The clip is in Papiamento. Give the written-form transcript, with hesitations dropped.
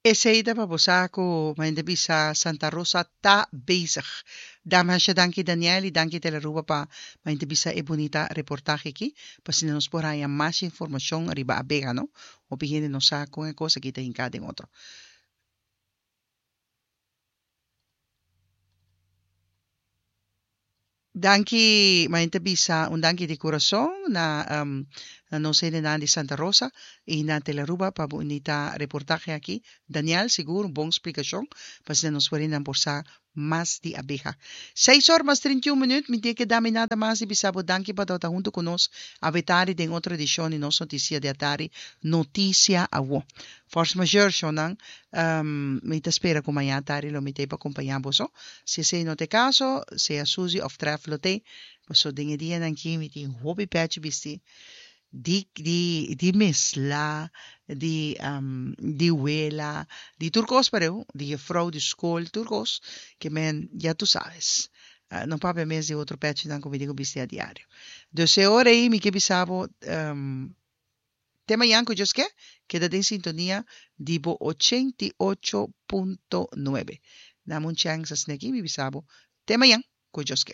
Esey ta pa bo sa cu Maente bisa Santa Rosa ta bezig. Dame hasha danki Daniel y danki Telearuba pa Maente bisa e bunita reportahe aki pa asina nos por haya mas informacion riba abeha no. Hopi hende no sa con e cos aki ta hinca den otro. Danki, Maente bisa un danki di kurason na na nos hendenan di Santa Rosa i na Telearuba pa bunita reportahe aki. Daniel, sigur un bon splikashon pa asina nos werinan por sa mas di abeha. Seis or mas 31 minuut, mi tin ke da mi nada mas di bisa bo danki pa tabata huntu ku nos awe tardi den otro edishon di nos notisia di atari, Notisia Awo. Force majeure, shownan, mi ta spera ku mañana tardi lo mi t'ei pa kompañá boso. Si esei no ta e kaso, sea Suzy òf Tref lo t'ei, pasobra den e dianan akí mi tin hopi pèchi bistí di di di mesla, di di wela, di tur kos pareu, di jefrou di skol, tur kos, ke men ya tu sabes. No papia mes di otro pèchinan ku mi tin ku bisti a diario. Dus e ora ei mi ke bisa bo. Te mañan ku Dios ke, keda den sintonia di bo 88.9. Dame un chèns asina aki mi bisa bo te mañan ku Dios ke.